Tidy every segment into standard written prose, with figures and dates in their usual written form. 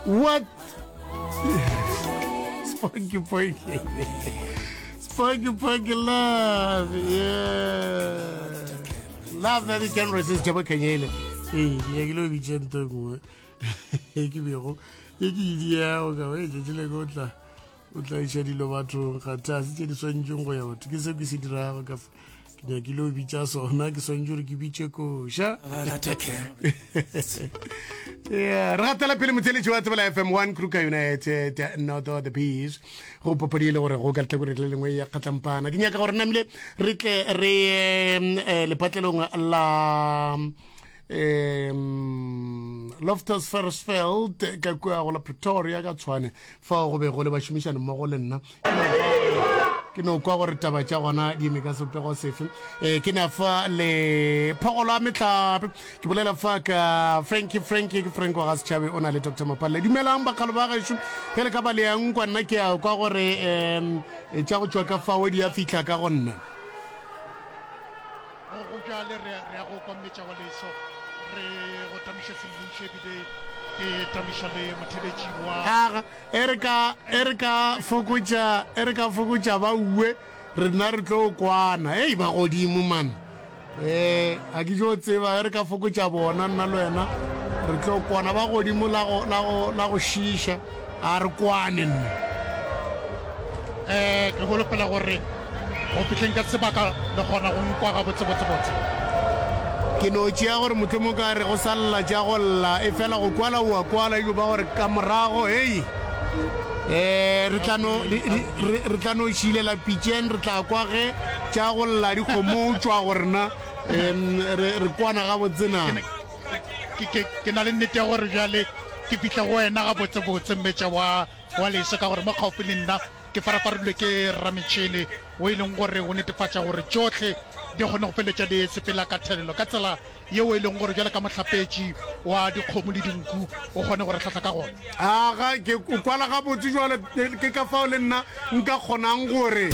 What? Spunky punky. Spunky punky love. Yeah. Love that you can resist Jabo Kenyele. Ee, ke nyakile o bitše nto e nngwe e ke bego e ke idiago ka e tšatši le o tla o tla iša dilo bathong ga tlase tše di swantšeng go ya batho ke seo ke se dirago ka fa ke nyakile o bitša sona ke swantše gore ke bitše koša yeah re gatela pele motheletši wa tsebela fm 1 kruka united north of the peace go papadi e le gore go ka letlhakoreng le lengwe ya kgatlampana ke nyaka gore namile re tle re eh, lepatlelong la um loftus fersfeld ka kua go la pretoria ka tshwane fao go be go le bašomišani mmogo le nna ke no kwa gore taba tša gona di eme ka sepego sefe um ke na fa le phogolo a metlhape ke bolela fa ka franki franki ke frank wa ga setšhabe o na le dr mapalle dumelang bakgalo ba gešo ge le ka ba le yang kwa nna ke a kwa gore um tša go tšwa ka fao di a fihla ka go nna Go bjale re, re ya go kwa mmetša wa leso, re go tamiša semmušo ebile ke tamiša le motheletši wa. Aga, e re ka, e re ka fokotša, e re ka fokotša ba uwe, rena re tlo kwana. Ei, ba godimo man. Eh, ga ke tšo tseba, e re ka fokotša bona, nna le wena, re tlo kwana. Ba godimo la go, la go, la go šiiša, a re kwane nna. Eh, ke holofela gore Go fihleng ka sebaka le kgona go nkwa gabotsebotsebotse. Ke no tšea gore mohlomong ka re go sa lla tša go lla, efela go kwala o a kwala, ejo ba gore ka morago, hei, eh, re tla no, re, re tla no šilela pitšeng, re tla kwa ge tša go lla di kgomo tšwa go rena, em, re, re kwana gabotse na. Ke, ke, ke na le nnete ya gore bjale ke fihla go wena gabotsebotse, mmetša wa, wa leso, ka gore mo kgaufsi le nna Ke farafarilwe ke rametšhene wo e leng gore o netefatša gore tšohle di kgone go feleletša di sepela ka thelelo ka tsela yeo e leng gore bjalo ka mohlapetši wa dikgomo le dinku o kgone go re hlahla ka gona. Aga, ke o kwala gabotse jwale, ke ka fao le nna nka kgonang gore.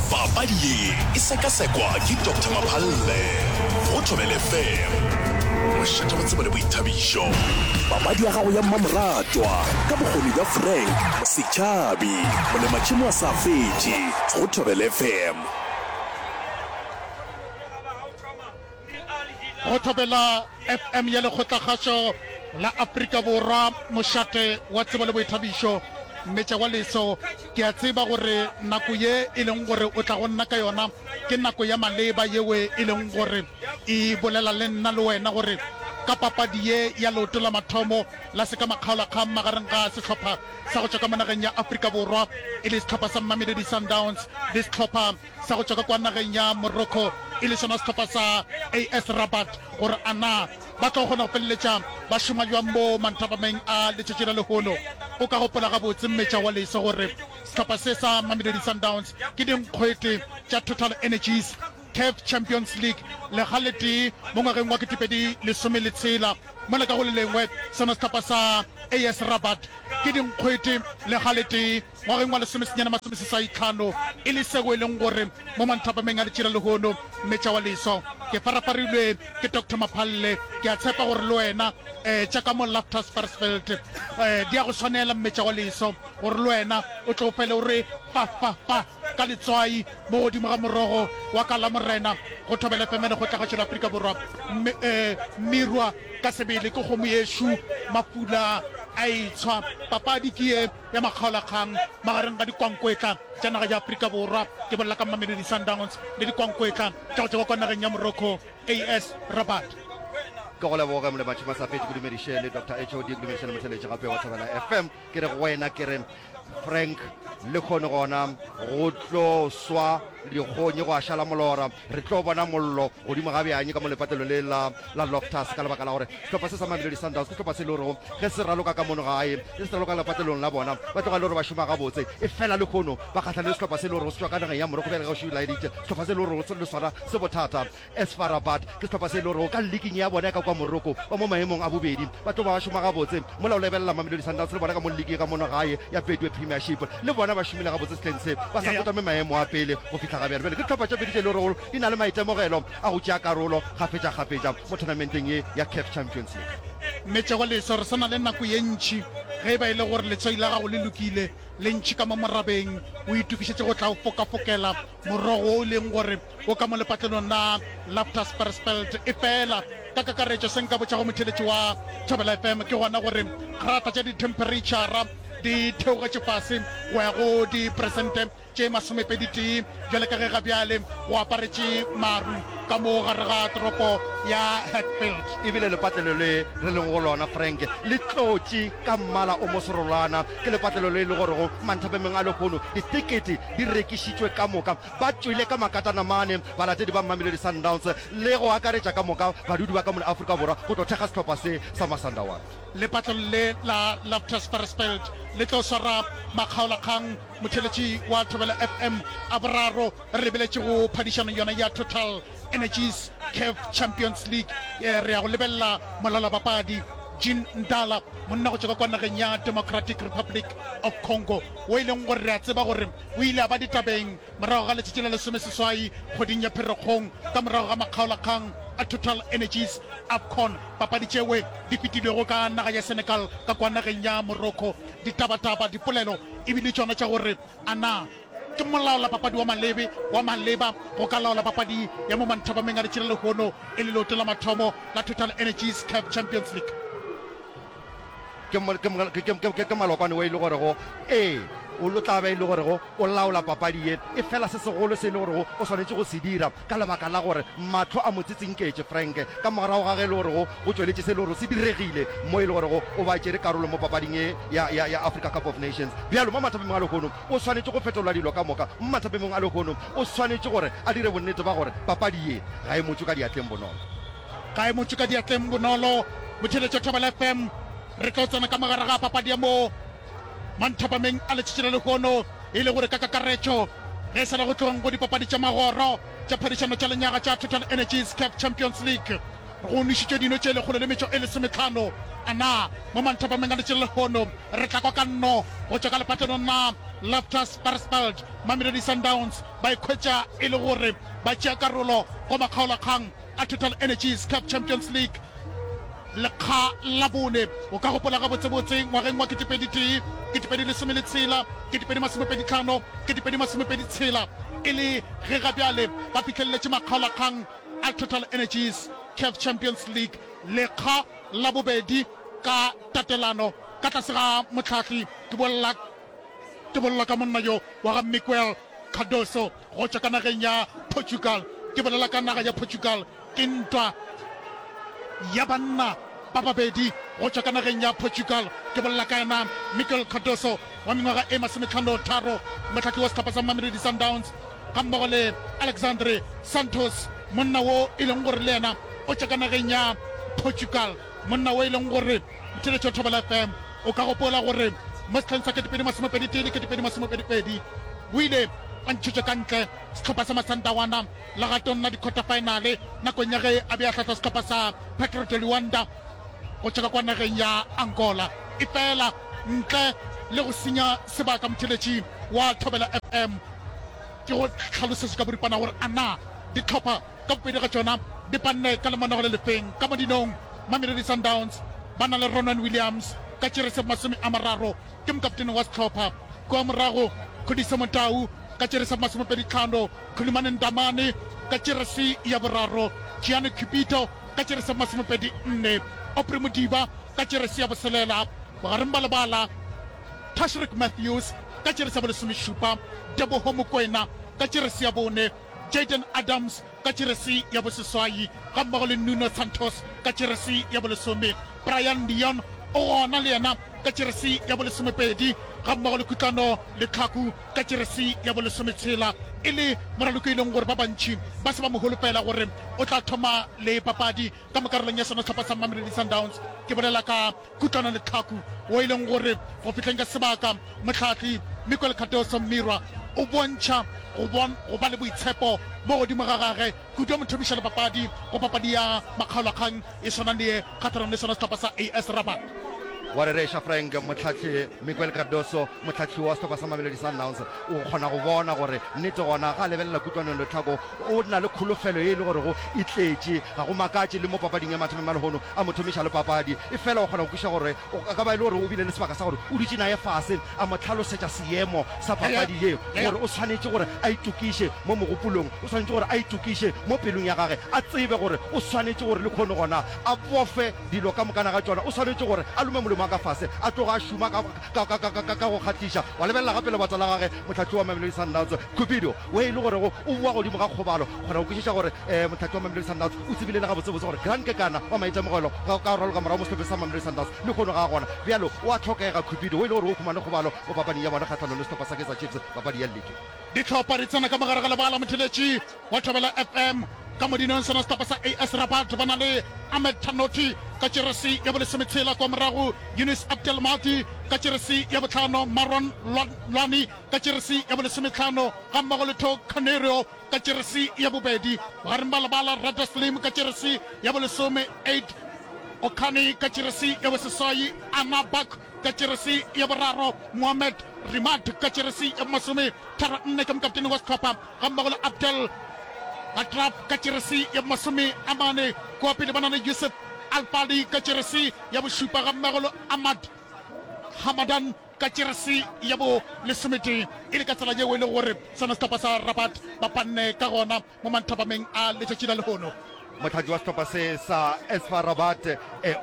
Papadi ye e sekasekwa ke Doctor Maphalle go Thobela FM, mošate wa tsebo le boithabišo. Papadi ya gago ya mmamoratwa ka bokgoni bja Frank Setšhabi, molematšhemo a sa fetše go Thobela FM. Go Thobela FM ya Lekgotlakgašo la Afrika Borwa, mošate wa tsebo le boithabišo, Mmetša wa Leso. Ke a tseba gore nako ye e leng gore o tla go nna ka yona ke nako ya maleba yeo e leng gore e bolela le nna le wena gore ka papadi ye ya leoto la mathomo la sekamakgaolakgang magareng ga sehlopha sa go tšwa ka mo nageng ya Afrika Borwa e le sehlopha sa Mamelodi Sundowns le sehlopha sa go tšwa ka kwa nageng ya Morocco e le sona sehlopha sa AS Rabat gore a na ba tlo kgona go feleletša ba šoma bjang mo manthapameng a letšatši la lehono. O ka gopola gabotse mmetša wa leso gore sehlopha se sa Mamelodi Sundowns ke dinkgwete tša Total Energies Caf Champions League lekga le tee mo ngwageng wa 2016 mola ka go le lengwe sona sehlopha sa AS Rabat ke dinkgwete lekga le tee Ngwageng wa lesomesenyane masomeseswaitlhano, e le seo e leng gore mo manthapameng a letšila lehono, Mmetša wa Leso, ke farafarilwe ke Doctor Maphalle. Ke a tshepa gore le wena, eh, tša ka mo Loftus Versfeld, eh, di a go swanela, Mmetša wa Leso, gore le wena o tle o fele o re fa, fa, fa ka letswai mo godimo ga morogo wa ka Lamorena go Thobela FM le Kgotlagašo la Afrika Borwa. Mme, eh, Mmirwa ka sebele ke kgomo yešo, mafula a etshwa. Papadi ke ye. ya makgaolakgang magareng ga dikwankwetla tša naga ya Afrika Borwa, ke bolela ka Mamelodi Sundowns, le dikwankwetla tša go tšwa kwa nageng ya Morocco, AS Rabat. Ke go leboge Molebatšhi Masafetše, ke dumediše le Doctor HOD, ke dumediše le motheletši gape wa Thobela FM. Ke re go wena ke re Frank le kgone gona go tlo swa dikgonyi go a šala molora. Re tlo bona mollo godimo ga bjang ka mo lepatlelong le la la Loftus ka lebaka la gore sehlopha se sa Mamelodi Sundowns ke sehlopha se e le gorego ge se raloka ka mono gae, ge se raloka lepatlelong la bona, ba tloga e le gore ba šoma gabotse. Efela lehono ba kgahlane le sehlopha se e le gorego se tšwa ka nageng ya Morocco bjale ge o še laeditše sehlopha se e le gorego le sona se bothata. AS FAR Rabat ke sehlopha se e le gorego ka liking ya bona ya ka kua Morocco ba mo maemong a bobedi, ba tlo ba ba šoma gabotse mola o lebelela Mamelodi Sundowns le bona ka mo liking ka mono gae ya Betway Premiership le bona ba šomile gabotse sehleng se ba sa kotame maemo a pele go fihla ga bjale. Bjale ke dihlopha tše pedi tše e le gorego di na le maitemogelo a go tšea karolo kgafetšakgafetša mo tournamenteng ye ya CAF Champions League. Mmetšego leso, re sa na le nako ye ntši. Ge e ba e le gore letswai la gago le lokile, le ntši ka mo morabeng, o itokišetše go tla o fokafokela morogo wo o leng gore o ka mo lepatlelong la Loftus Versfeld. Efela, ka kakaretšo, se nka botšago motheeletši wa Thobela FM ke gona gore grata tša dithemphereitšhara di theogetše fase go ya go diperesente tše masomepeditee bjale ka ge ga bjale go aparetše maru ka mo gare ga toropo ya Hatfield. E bile lepatlelo le re lego go lona, Frank, le tlotše ka mmala o moserolwana. Ke lepatlelo le e le gorego manthapemeng a lehono ditekete di rekišitšwe ka moka. Ba tšwele ka makatanamane balatedi ba Mamelodi Sundowns le go akaretša ka moka badudi ba ka mono Afrika Borwa go tlo thekga sehlopha se sa Masandawana. Lepatlelo le la Loftus Versfeld le tlo swara makgaolakgang Motheeletši wa Thobela FM a boraro re lebeletše go phadišano yona ya Total Energies Caf Champions League. Re ya go lebelela molalabapadi Jean Ndala, monna go tšwa ka kwa nageng ya Democratic Republic of Congo, wo e leng gore re a tseba gore o ile a ba ditabeng morago ga letšatši la lesomeseswai kgweding ya Pherekgong ka morago ga makgaolakgang a Total Energies AFCON, papadi tšewe di fetilwego ka naga ya Senegal ka kwa nageng ya Morocco. Ditabataba, dipolelo e bile tšona tša gore a na ke molaolapapadi wa malebe wa maleba go ka laola papadi ya mo manthabameng a letšatši la lehono e le leoto la mathomo la Total Energies Caf Champions League. Ke, ke, ke, ke, ke, ke malokwane wo e le gorego, ee, o lo tla ba e le gorego o laola papadi ye. Efela se segolo se e le gorego o swanetše go se dira, ka lebaka la gore mahlo a mo tsitsinketše Frank, ka morago ga ge e le gorego go tšweletše se e le gorego se diregile mo e le gorego o ba tšere karolo mo papading ye ya, ya, ya Africa Cup of Nations. Bjalo mo mathapemeng a lehono o swanetše go fetola dilo ka moka. Mo mathapemeng a lehono o swanetše gore a dire bonnete ba gore papadi ye ga e mo tšwe ka diatleng bonolo. Ga e mo tšwe ka diatleng bonolo. Motheeletši wa Thobela FM, re tlo tsena ka mogare ga papadi ya mo manthapameng a letšatši la lehono, e le gore ka kakaretšo ge e sa le go tlogeng go dipapadi tša magoro tša phadišano tša lenyaga tša Total Energies Caf Champions League go nwešitšwe dino tše lekgolo le metšo e lesometlhano. A na mo manthapameng a letšatši la lehono re tla kwa ka nno go tšwa ka lepatlelong la Loftus Versfeld, Mamelodi Sundowns ba ikhwetša e le gore ba tšea karolo go makgaolakgang a Total Energies Caf Champions League lekga la bone. O ka gopola gabotsebotse ngwageng wa 2001, 2016, 2025, 2026 e le ge ga bjale ba fihleleletše makgaolakgang a Total Energies Caf Champions League lekga la bobedi ka tatelano ka tlase ga mohlahli ke bolela Ke bolela ka monna yo wa ga Miguel Cardoso go tšwa ka nageng ya Portugal. Ke bolela ka naga ya Portugal. Ke ntwa ya banna ba babedi go tšwa ka nageng ya Portugal. Ke bolela ka yena Miguel Cardoso wa mengwaga e masometlhano-tharo, mohlahli wa sehlopha sa Mamelodi Sundowns, gammogo le Alexandre Santos, monna wo e leng gore le yena o tšwa ka nageng ya Portugal. Monna wo e leng gore Motheeletši wa Thobela FM o ka gopola gore mo sehleng sa 2021 le 2022 o ile a ntšhetšwa ka ntle sehlopha sa Masandawana legatong la di-quarter-final nakong ya ge a be a hlahla sehlopha sa Petro de Luanda go tšwa ka kwa nageng ya Angola. Efela ntle le go senya sebaka motheeletši wa Thobela FM ke go hlalosetše ka boripana gore a na dihlopha Ka bobedi ga tšona di panne ka lemanogo le lefeng. Ka mo dinong, Mamelodi Sundowns ba na le Ronwen Williams ka tšerese 30, ke mokaptene wa sehlopha. Kua morago, Khudiso Motau ka tšerese 25, Khulumani Ndamane ka tšerese ya boraro, Gianni Cupido ka tšerese 24, Aubrey Modiba ka tšerese ya boselela. Bogareng ba lebala, Tashreeq Matthews ka tšerese ya bolesomešupa, Teboho Mokoena ka tšerese ya bone, Jayden Adams ka jeresi ya boseswai gammogo le Nuno Santos ka jeresi ya bolesome. Brayan Leon o gona le yena ka jeresi ya bolesomepedi gammogo le Kutlwano Letlhaku ka jeresi ya bolesometshela e le moraloki e leng gore ba bantši ba se ba mo holofela gore o tla thoma le papadi ka mo karolong ya sona sehlopha sa Mamelodi Sundowns. Ke bolela ka Kutlwano Letlhaku wo e leng gore go fihleng ka sebaka mohlahli Miguel Cardoso Mmirwa o bontšha go go ba le boitshepo mo godimo ga gage kudu a mo thomiša le papadi go papadi ya makgaolakgang e swana le ye kgahlanong le sona sehlopha sa AS Rabat. Wa rereša Frank, mohlahli Miguel Cardoso, mohlahli wa sehlopha sa Mamelodi Sundowns, o kgona go bona gore nnete gona ga a lebelela kutlwanong Letlhako o na le kholofelo ye e le gorego e tletše. Ga go makatše le mo papading ya mathomo ya lehono a mo thomiša le papadi, efela o kgona go kwešiša gore o ka ba e le gore o bile le sebaka sa gore o dutše naye fase a mo hlalosetša seemo sa papadi ye, gore o swanetše gore a itokiše mo mogopolong, o swanetše gore a itokiše mo pelong ya gage, a tsebe gore o swanetše gore lehono gona a bofe Dilo ka mokana ga tšona, o swanetše gore a lome molomo wa ka fase, a tloge a šoma ka, ka, ka, ka, ka, ka go kgahliša. Wa lebelela gape lebatsa la gage, mohlahli wa Mamelodi Sundowns, Cupido, we e le gorego o boa godimo ga kgobalo. Kgona go kwešiša gore um mohlahli wa Mamelodi Sundowns o tsebile le gabotsebotse gore Grant Kekana wa maitemogelo ga ka raloka morago mo sehlopheng sa Mamelodi Sundowns lehono ga a gona. Bjalo o a hlokega Cupido, we e le gore o humane kgobalo mo papading ya bona kgahlanong le sehlopha sa Kaizer Chiefs papadi ya ligi. Dihlopha di tsena ka mogare ga lebala motheletši wa Thobela FM ka modinong sona sehlopha sa AS Rabat ba na le Ahmed Tanoti ka jeresi ya bolesometshela kwa morago Yunis Abdelmahdi ka jeresi ya bohlano Marwan Lwani ka jeresi ya bolesometlhano gammogo le Tho Canerio ka jeresi ya bobedi bogareng ba lebala Rada Slim ka jeresi ya bolesome Aid Okani ka jeresi ya boseswai Anna Bak ka jeresi ya boraro Mohamed Rimad ka jeresi ya bomasome 34 ke mokaptene wa sehlopha gammogo le Abdel Atraf ka jeresi ya bomasome a mane. Kua pele ba na le Yusuf Alfali ka jeresi ya bošupa gammogo le Ahmad Hamadan ka jeresi ya bo lesometee. E le ka tsela yeo e lego gore sona sehlopha sa Rabat ba panne ka gona. mo manthapameng a letšatši la lehono. Mohlahli wa sehlopha se sa FAR Rabat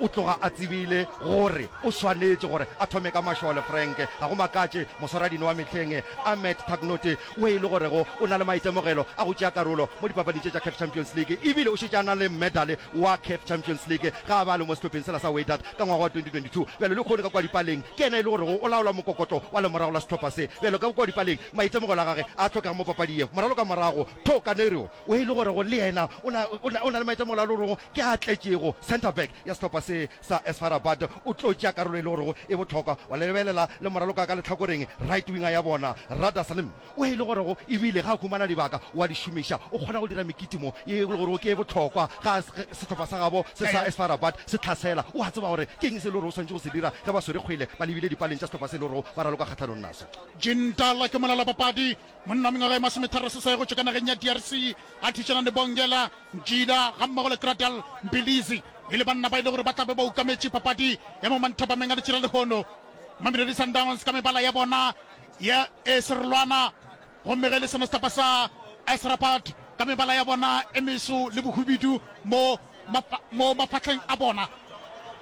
o tloga a tsebile gore o swanetše gore a thome ka mašole. Frank ga go makatše, moswaradino wa mehleng Ahmed Tagnote o e le gorego o na le maitemogelo a go tšea karolo mo dipapading tše tša CAF Champions League ebile o šetše a na le medale wa CAF Champions League ge a be a le mo sehlopheng sela sa Wydad ka ngwaga wa 2022. Bjale lehono ka kua dipaleng ke yena e le gorego o laola mokokotlo wa lemorago la sehlopha se. Bjale ka kua dipaleng Maitemogelo a gage a hlokega mo papading ye. Moralo ka morago, Tho Kanerio, o e le gorego le yena o na, o na, o na le maitemogelo a le gorego ke a tletšego. Centre back ya sehlopha se sa SFA Rabat o tlo tšea karolo e le gorego e bohlokwa. Wa lebelela le moraloka ka lehlakoreng, right winger ya bona, Rada Salim, o e le gorego ebile ge a humana dibaka o a di šomiša. O kgona go dira mekitimo ye e le gorego ke e bohlokwa ge sehlopha sa gabo se sa SFA Rabat se hlasela. O a tseba gore ke eng se e le gorego o swanetše go se dira ge ba swere kgwele ba lebile dipaleng tša sehlopha se e le gorego ba raloka kgahlanong naso. Jintala ke molalapapadi, monna wa mengwaga e masometharoseswai go tšwa ka nageng ya DRC, a thušana le Bongela Njila gammogo le Gradel Mbilizi e le banna ba e le gore ba tla be ba ukametše papadi ya mo manthapameng a letšatši la lehono. Mamelodi Sundowns ka mebala ya bona ya e serolwana gomme ge e le sona sehlopha sa AS Rabat ka mebala ya bona e meso le bohubidu mo mo mafahleng a bona.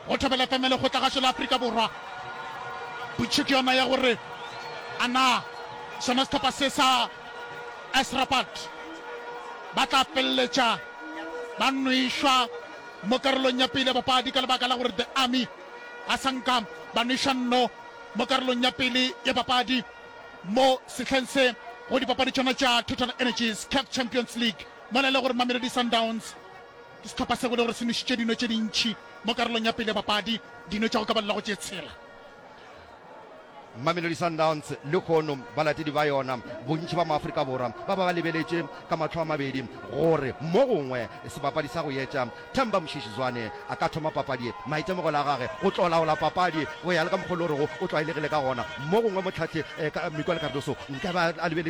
Go Thobela FM ya Lekgotlagašo la Afrika Borwa, potšišo ke yona ya gore a na sona sehlopha se sa AS Rabat ba tla feleletša ba nwešwa mo karolong ya pele ya papadi ka lebaka la gore The Army ga sa nka ba nweša nno mo karolong ya pele ya papadi mo sehleng se go dipapadi tšona tša Total Energies CAF Champions League mola e le gore Mamelodi Sundowns Ke sehlopha seo e le gore se nwešitše dino tše dintši mo karolong ya pele ya papadi, dino tša go ka balelwa go tše tshela. Mamelodi Sundowns lehono balatedi ba yona, bontši ba maAfrika Borwa ba ba ba lebeletše ka mahlo a mabedi gore mo gongwe sebapadi sa go etša Themba Mshishi Zwane a ka thoma papadi ye. Maitemogelo a gage go tlo laola papadi go ya le ka mokgwa o le gorego o tlwaelegile ka gona. Mo gongwe mohlahli Miguel Cardoso nkabe a lebeletše.